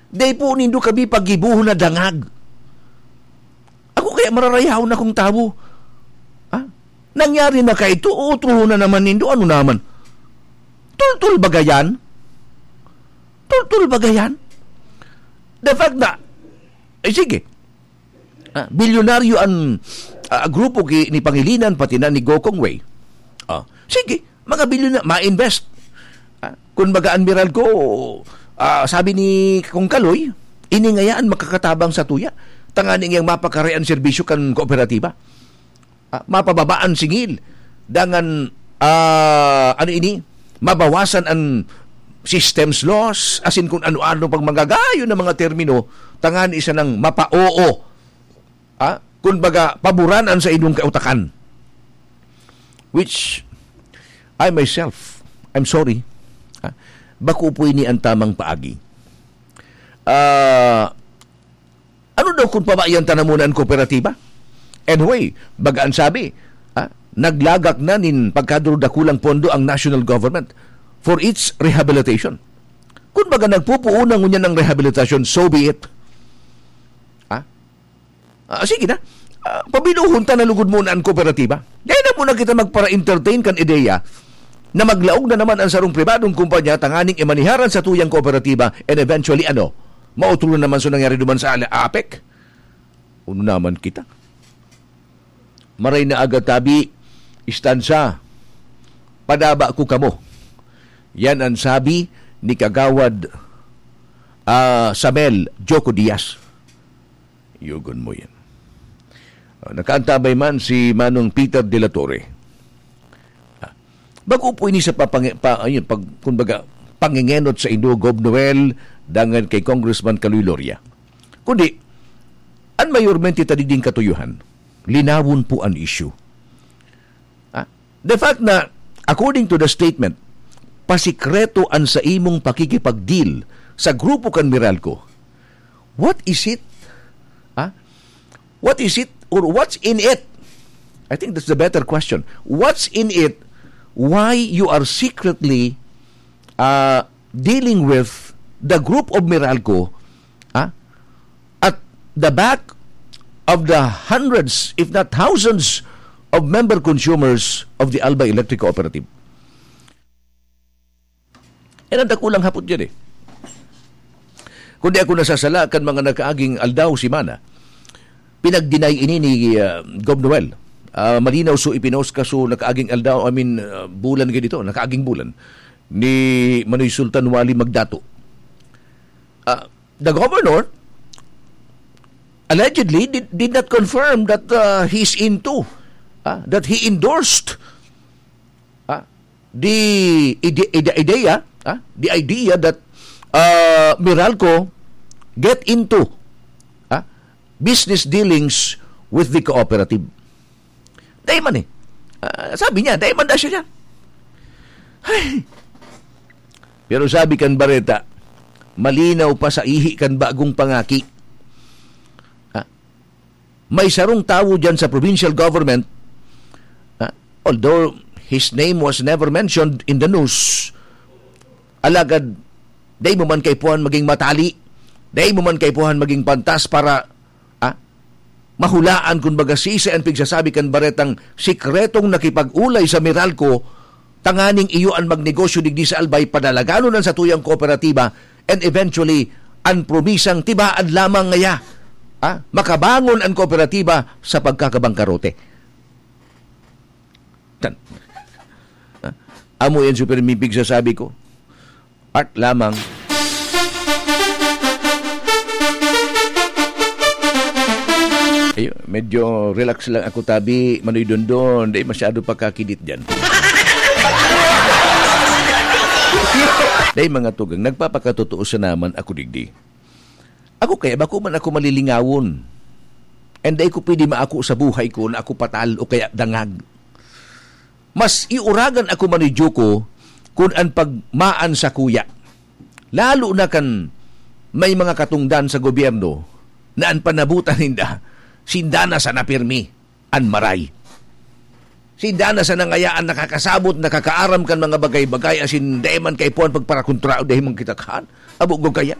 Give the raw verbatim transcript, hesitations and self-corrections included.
Dai po nindo kami pagibohon na dangag. Ako kaya mararayahon akong tawo. Ha? Nangyari na kaito, uutrohon na naman nindo. Ano naman? Tultul ba gayan? Tultul ba gayan? The fact na, eh, sige. Ah, bilyonaryo an, ah, grupo ki-, ni Pangilinan, pati na ni Go Kong Wei. Ah, sige, mga bilyon na, ma-invest. Ah, kun baga an Meralco, ah, sabi ni Kong Kaloy, ini ngaya an makakatabang sa tuya. Tanganing iyang mapakaray an serbisyo kan kooperatiba. Ah, mapababa an singil. Dangan, ah, ano ini? Mabawasan an systems loss, asin kun ano-ano pang magagayon na mga termino, tanganing siya nang mapa-oo. Ah, kun baga, paboran an saindong kautakan. Which, I myself, I'm sorry. Ah, bako po ini an tamang paagi. Ah, ano daw kun pabayan ta na muna an kooperatiba? Anyway, baga an sabi, ah, naglagak na nin pagkadurudakulang pondo ang national government for its rehabilitation. Kun baga nagpupuuna ngunyan ang rehabilitasyon, so be it. Ah? Ah, sige na. Ah, pabinuhon ta na lugod muna an kooperatiba. Dai na muna kita magpara-entertain kan ideya na maglaog na naman ang sarong pribadong kumpanya tanganing imaniharan sa tuyang kooperatiba and eventually, ano, mautro na naman sa nangyari duman sa ala-, apek. Uno naman kita. Maray na aga tabi, istansa, padaba ko kamo. Yan ang sabi ni Kagawad, ah, Samel Joko Diaz. Yugon mo yan. Ah, nakaantabay man si Manong Peter de la Torre. Ah, bako po ini sa papangi-, pa, ayun, pag, kumbaga, pangingenot sa indo, Gov Noel, dangan kay Congressman Kaloy Loria. Kundi, an mayormente ta digding katuyuhan, linawon po an issue. Ah, the fact na, according to the statement, pasikreto an sa imong pakikipag-deal sa grupo kan Meralco, what is it? Ah? What is it or what's in it? I think that's the better question. What's in it? Why you are secretly, uh, dealing with the group of Meralco, ah, at the back of the hundreds, if not thousands, of member consumers of the Albay Electric Cooperative? Yan ang dakulang hapot dyan eh. Kung di ako nasasala, kan mga nakaaging aldaw, semana, pinag-deny ini ni, ah, Gov Noel. Ah, malinaw, so ipinost ka, so nakaaging aldaw, I mean, ah, bulan ganito, nakaaging bulan, ni Manoy Sultan Wali Magdato. Ah, the governor allegedly did, did not confirm that, ah, he's into, ah, that he endorsed, ah, the ide-, ide-, idea, ah, the idea that, ah, Meralco get into, ah, business dealings with the cooperative. Dai man eh. Ah, sabi niya, dai man daw siya dyan. Ay. Pero sabi kan bareta, malinaw pa sa ihi kan bagong pangaki. Ah, may sarong tawo dyan sa provincial government, ah, although his name was never mentioned in the news, alagad dai mo man kaipuhan maging matali, dai mo man kaipuhan maging pantas para, ah, mahulaan kun baga sisay an pigsasabi kan baretang sikretong nakipag-ulay sa Meralco, tanganing iyo an magnegosyo digdi sa Albay, padalaganon an satuyang kooperatiba, and eventually, an promisang tibaan lamang ngaya, ah, makabangon an kooperatiba sa pagkakabangkarote. Tan. Ah, amo yan, Super Mipig, sasabi ko. Art lamang. Ayun, medyo relax lang ako, tabi, Manoy Dondon. Dai masyado pakakidit dyan. Dai, mga tugang, nagpapakatotoo sa naman ako digdi. Ako kaya, bako man ako malilingawon. And dai ko pwede maako sa buhay ko na ako patal o kaya dangag. Mas iuragan ako, Manoy Joko, kun an pagmaan sa kuya. Lalo na kan may mga katungdan sa gobyerno na an panabutan ninda, sinda na sana pirmi an maray. Sinda na sana ngaya an nakakasabot, nakakaaram kan mga bagay-bagay, asin dai man kaipuhan pagparakontra o dai man kita kahan. Abo gud kaya.